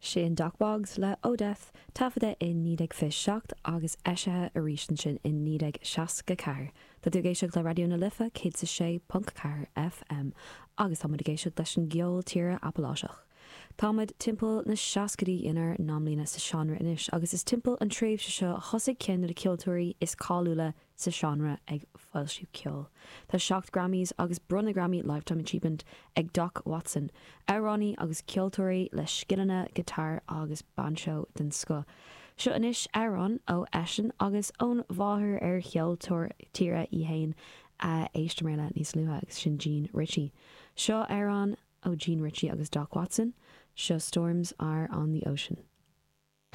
Sin Dock Boggs le Oh Death, taifeadta i 1927 agus eisithe arís ansin i 1964. Tá tú ag éisteacht le Raidió na Life 106.4 FM agus tá muid ag éisteacht leis an gceol tíre Apaláiseach. Tá muid timpeall na seascaidí inár n-amlíne sa seánra anois agus is timpeall an tréimhse seo a thosaigh ceann de na ceoltóirí is cáiliúla sa seánra ag foilsiú ceoil. Tá 7 Grammys agus bronnadh Grammy Lifetime Achievement ag Doc Watson, amhránaí agus ceoltóirí le scileanna guitar agus bainseó den scoth. Seo anois amhrán ó eisean agus ón mháthair ar cheoltóir tíre í fhéin a éisteamar le níos luaithe agus sin Jean Ritchie. Seo amhrán ó Jean Ritchie agus Doc Watson, seo Storms Are On The Ocean.